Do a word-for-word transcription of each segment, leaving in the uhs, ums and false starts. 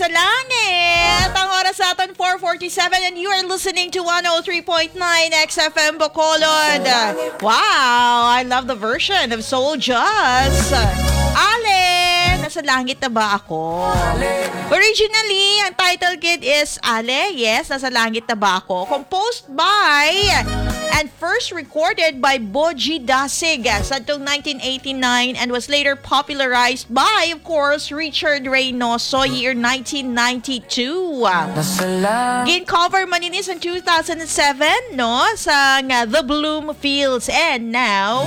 sa langit. Ang oras sa aton, four forty-seven, and you are listening to one oh three point nine X F M Bacolod. Wow, I love the version of Soul Jazz. Ale, nasa langit na ba ako? Originally, ang title kit is Ale, yes, nasa langit na ba ako? Composed by and first recorded by Boji Dasig sa nineteen eighty-nine and was later popularized by, of course, Richard Reynoso, year nineteen ninety-two. Gin-cover man ini sa two thousand seven, no, sa nga The Bloomfields. And now,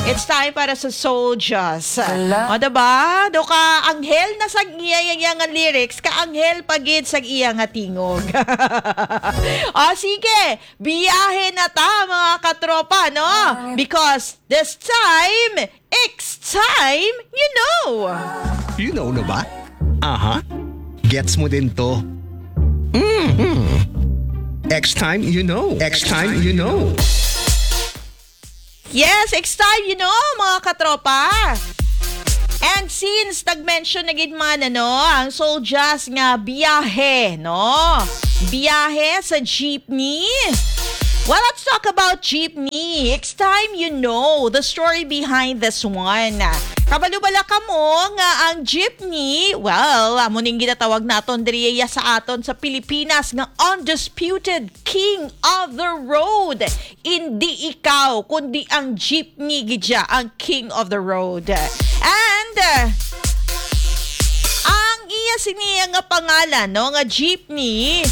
it's time para sa Soul Jazz. O, diba? Do ka, anghel na sa iya, iya, iya nga lyrics, ka anghel pa gid sa iya nga tingog. O, sige, biyahe na ta, mga katropa, no? Because this time, it's time, you know. You know na ba? Aha. Gets mo din to. Mm-hmm. X time, you know. X time, you know. Yes, it's time, you know, mga katropa. And since nag-mention na gid man, ano, ang Soul Jazz nga biyahe, no? Biyahe sa jeepney. Well, let's talk about jeepney. It's time you know the story behind this one. Kabalo bala kamo nga ang jeepney, well, amo ning ginatawag naton diri sa aton sa Pilipinas nga undisputed king of the road. Hindi ikaw, kundi ang jeepney gid siya ang king of the road. And uh, ang iya sini nga pangalan, no, nga jeepney,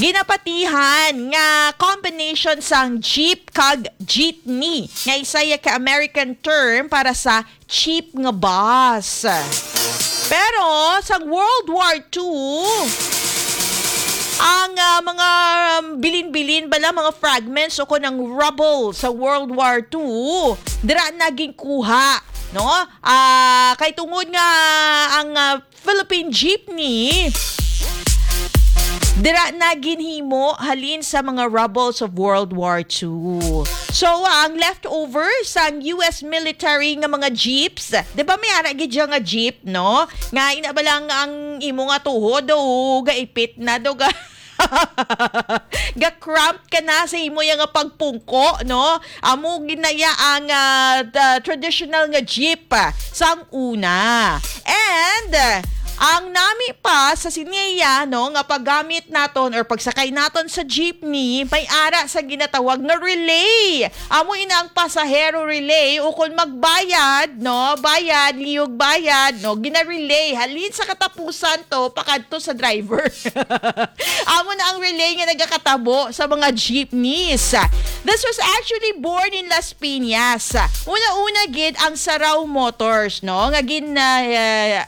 ginapatihan nga combination sang jeep kag jeepney, nga isa ya ka American term para sa cheap nga bus. Pero sa World War Two, ang ah, mga bilin-bilin bala, mga fragments o kon ang rubble sa World War Two, dira na ginkuha, no? Ah, kay tungod nga ang ah, Philippine jeepney dira na ginhimo halin sa mga rubbles of World War Two. So, ah, ang leftover sang U S military nga mga jeeps, di ba may ara gid siya nga jeep, no? Nga ina ba lang ang imo nga tuhod o gaipit na do ga ga-cramp ka na sa imo ya nga pagpungko, no? Amo ginaya ang ah, the traditional nga jeep ah, sang una. And ah, ang nami pa sa siniya, no, nga paggamit naton or pagsakay naton sa jeepney, may ara sa ginatawag nga relay. Amo ina ang pasahero relay, o kon magbayad, no, bayad, liyog bayad, no, gina-relay halin sa katapusan to pakadto sa driver. Amo na ang relay nga nagakatabo sa mga jeepneys. This was actually born in Las Piñas. Una-una gid ang Saraw Motors, no, nga gin ah,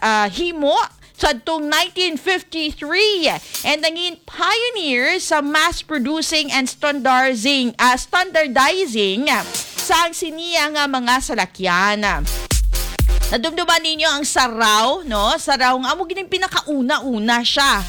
ah, himo sadtong nineteen fifty-three, and nangin pioneer sa mass producing and standardizing, ah, standardizing sang siniya nga mga salakyan. Nadumduman ninyo ang Saraw, no? Saraw nga amo gid ang pinakauna-una siya.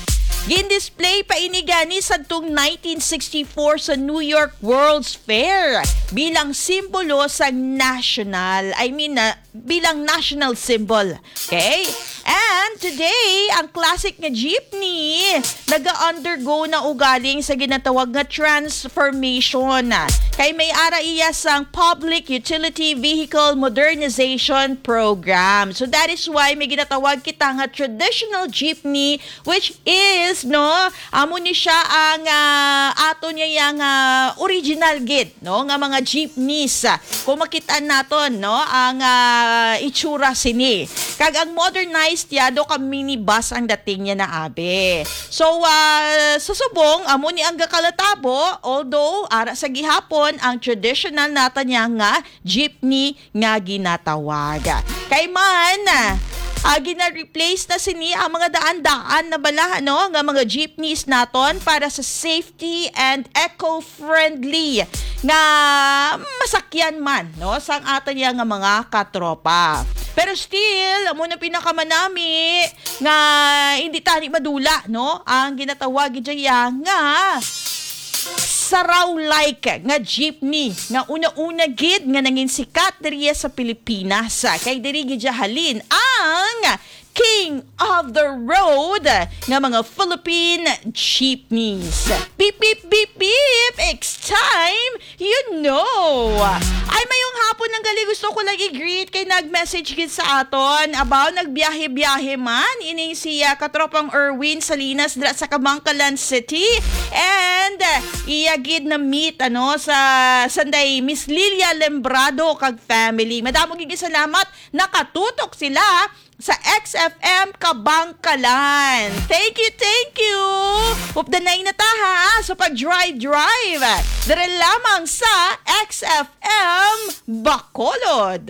Gin-display pa ini gani sadtong nineteen sixty-four sa New York World's Fair bilang simbolo sa national, I mean, ah, bilang national symbol. Okay? And today, ang classic nga jeepney naga-undergo na ugaling sa ginatawag nga transformation. Kay may ara iya sang Public Utility Vehicle Modernization Program. So that is why may ginatawag kita nga traditional jeepney, which is, no, amo ni siya ang ah, ato niya yang ah, original gid, no, nga mga jeepneys. Kung makita naton, no, ang ah, itsura sini. Kag ang modernized ya, do ka minibus ang dating niya na abi. So, ah, sa subong, amo ni ang gakalatabo, although ara sa gihapon ang traditional nata niya nga jeepney nga ginatawag. Kay man, ah, gina-replace na sini ang mga daan-daan na bala, no, nga mga jeepneys naton para sa safety and eco-friendly nga masakyan man, no, sang aton ya nga mga katropa. Pero still, amo na pinakamanami nga hindi tani madula, no, ang ginatawag gid ya nga Saraw-like nga jeepney nga una-una gid nga nangin sikat diri sa Pilipinas. Kay diri gid ya halin ang King of the road nga mga Philippine jeepneys. Beep, beep, beep, beep! It's time, you know! Ay, mayong hapon, nang gali gusto ko lang i-greet kay nag-message gid sa aton. Abaw, nagbiyahe-biyahe man ining si, ah, katropang Erwin Salinas dira sa Kabankalan City. And, ah, iya gid na meet, ano, sa Sunday, Miss Lilia Lembrado kag family. Madamo gid salamat. Nakatutok sila sa X F M Kabankalan. Thank you, thank you! Updanay na ta, ha, sa pag-drive-drive. Diri lamang sa X F M Bacolod.